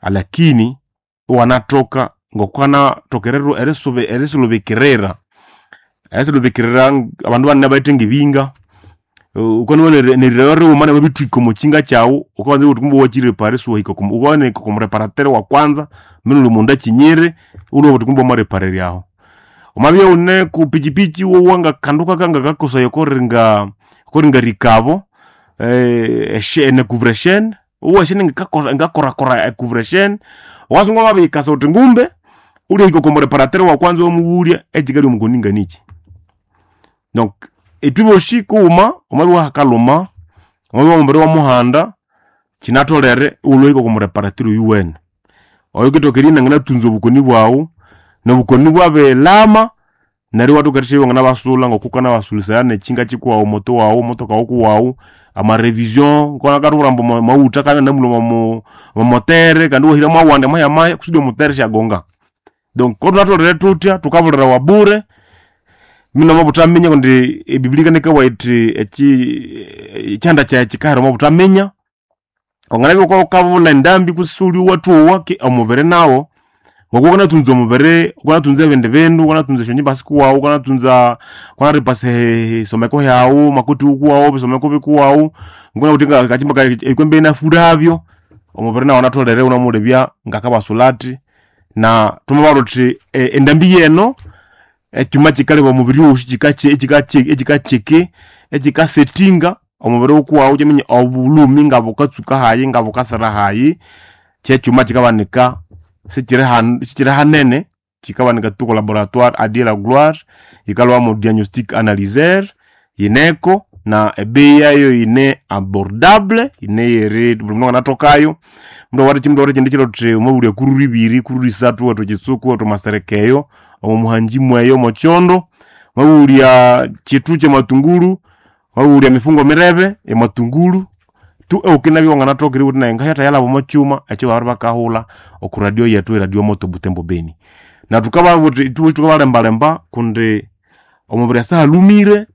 Alakini iwanathoka ngokwanathoka erisulubikirira erisulubikirira abandu banene bayithe ngebinga. Wukanowa nerilaba righuma namabithwika omo kyinga kyawu, wukabanza iwabugha wuthi kumbe wakyirepara isiwahika wukaghana erihika okwa mureparatere wa kwanza mbinu wuli omundu akinyire iwunabugha wuthi kumbe wamareparerya aho. Wamabya iwune ku pichipichi iwowa ngakandu kangakakosaya okoringa rikabo, ne couvre chaine, iwowa e chaine ngikakorakora e couvre chaine, wasunga wamabiyikasa wuthi ngumbe wulyahika oko mureparatere wa kwanza iwamubulya ekikalya omukoni nganikyi. Donc ithwebosi kughuma wamabya iwahakalhuma, wamabya omubiri iwamuhanda, kyinatholere iwulhwe iwahika oko mureparatere oyuwene. Oyukithoka eribya inanganathunza obukoni bwaghu, nobukoni bwabirilhama, neryo iwathoka erisyabya iwanganabasulha ngoko wukanabasulhisaya nekyinga kyikuwaghu omoto waghu omotoka wukuwaghu, ama revision wukabya ambu amaghutha akabya inanamulhwa omo motere kandi iwahira mwawandi mahya mahya kusudi omutere isyagonga. Donc kothunatholere thuthya thukabulirawa bure, munomobuthaminya kundi ebiblia yikanekabugha yithi ekyihanda kyayi kyikahera omo buthaminya. Wanganabya wukabulha endambi kutse isiwulye ki omubiri nawo, ngoku wukanathunza omubiri, wukanathunza ebindi bindu, wukanathunza esyangyimba sikuwaghu, wukanathunza wukanaripasa esomeko hyaghu, amakoti wukuwaghu, ebisomeko bikuwaghu, ngunawithe ngakakyimba kayi ekwembe inafurabyo, omubiri nawu anatholere iwunamulebya ngakabasulha athi. Na thwamabugha thuthi endambi yeno, ekyuma kyikaleba omubiri owosi kyikakyeki, ekyikasettinga omubiri wukuwaghu ikyaminya obulhumi ngabukatsuka hayi ngabukasira hayi, kyekyuma kyikabanika sikyiri hanene, kyikabanika tu oko laboratoire a Dieu la gloire, yikalhwa mo diagnostic analyser, yineko na ebeyi yayo yine abordable, yine yeri buli mundu anganathokayo. Mundu awathe ekyindi kyiro thuthi wamabulya kururu ibiri, kururu isathu iwathwa ekyitsuku, iwathwa amasereka eyo, omo muhanji mweyo omo kyondo, wamabulya kyithu kyamatunguru, wamabulya emifungo mirebe yamatunguru, tu iwukinabya iwanganathoka eribugha wuthi nayi ngahyathayalhaba omo kyuma ekyababiribakahulha oko radio yethu radio moto Butembo Beni. Na thukababugha thuthi ithwe thukabalembalemba kundi omubiri asahalhumire,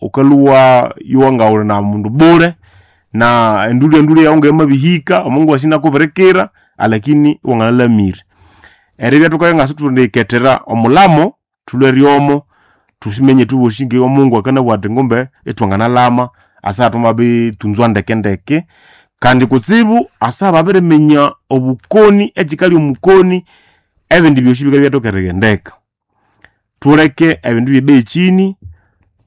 wukalhwa yowa ngawuli na mundu bule, na endulhu endulhu yawu ngayamabihika, omungu wasi inakubirikira, alakini iwanganalhamire. Eribya thukabya ngasithuliyikethera omulhamo, thulhwe ryomo, thusimenye ithwebosi nge Omungu akanabugha athi ngumbe ithwanganalhama asaha thwamabithunzwa ndeke ndeke. Kandi kutsibu asaha babiriminya obukoni ekyikalya omukoni, ebindi byosi bikabya ibyathoka erighendeka. Thuleke ebindu ebye bei kyini,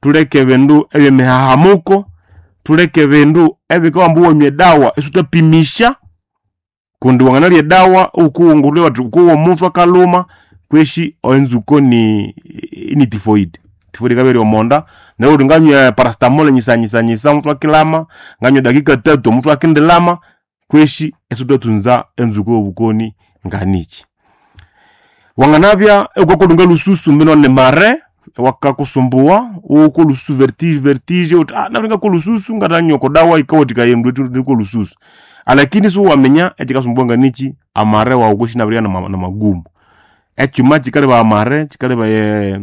thuleke ebindu ebyemihahamuko, thuleke ebindu ebikabugha ambu wanywa edawa isithapimisya, kundi wanganalya edawa iwukowa bathi wukowa omuthwe akalhuma kwesi enzukwo ni typhoid. Typhoid yikabya eyiri omonda, neryo iwabugha wuthi nganywa paracetamol nyisanyisanyisa omuthwe akilhama, nganywa edakika tatu omuthwe akindilhama, kwesi isithwathunza enzukwo yobukoni nganikyi. Wanganabya iwukakolhunga lhususu mbino ni mare iwakakusumbuwa, iwukwa olhususu vertige vertige wuthi nabiringakwa olhususu ngathanywa oko dawa yikawathikaya erindu erikwa olhususu. Alakini isiwaminya ekyikasumbuwa nganikyi, amare wawu kwesi inabiribya namagumu. Ekyuma kyikalebaya amare, kyikalebaya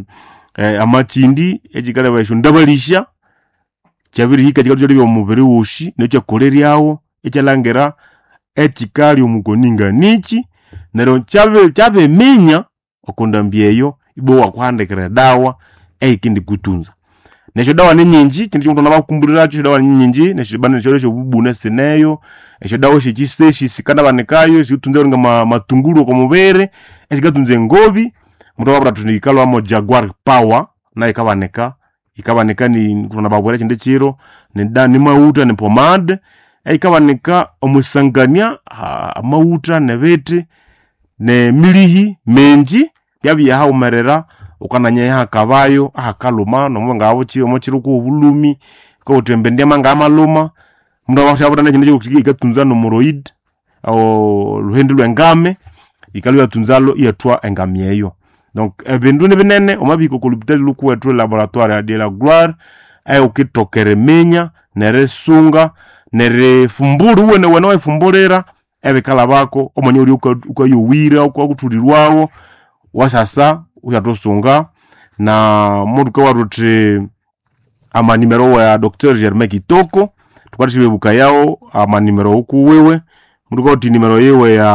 amakyindi, ekyikalebaya esyondabalisya, kyabirihika kyikalhwa ikyalebya omubiri wosi neryo ikyakoleryawo, ikyalhangira ekyikalya omukoni nganikyi, neryo kyabiminya oko ndambi eyo, ibwa iwakuhandikira edawa eyikindikuthunza. Nesyodawa ninyingi, ekyindu kyighuma thwamabakumbulirakyu, esyodawa ninyingi nesyodawa esyobubune sineyo, esyodawa esyekyisesi sikanabanikayo esithunza eringa matunguru oko mubiri, esikathunza engobi, muthwababwira thuthi yikalhwa mo jaguar power, nayu yikabanika, yikabanika thwanababwira ekyindi kyiro, nimaghutha ni pomade, eyikabanika omwisangania amaghutha nebithi, nemilihi mingi, byabya haghumerera wukananya ihakabayo ahakalhuma nomubanga omokyiro wukowa obulhumi, wukowa wuthi embindi ngayamalhuma, mundu amathabwira nekyindi kyiro yikathunza nomuroid, olhuhindi lwengami, yikalhwa iyathunzalhu iyathwa engami eyo. Donc ebindu nibinene wamabihika oko lhupitali lhukuwethu laboratoire ya Dieu la gloire, eyawukithoka eriminya nerisunga nerifumbulha iwenewene iwayifumbulira ebikalhabako omwanya owulye wukayowira wukathulirwawo, wasasa iwathusunga. Na muthukabugha thuthi amanimero wa Doctor Germain Kitoko, thukathasyabebukayawo amanimero wukuwiwe. Mundu kawuthi nimero yiwe ya.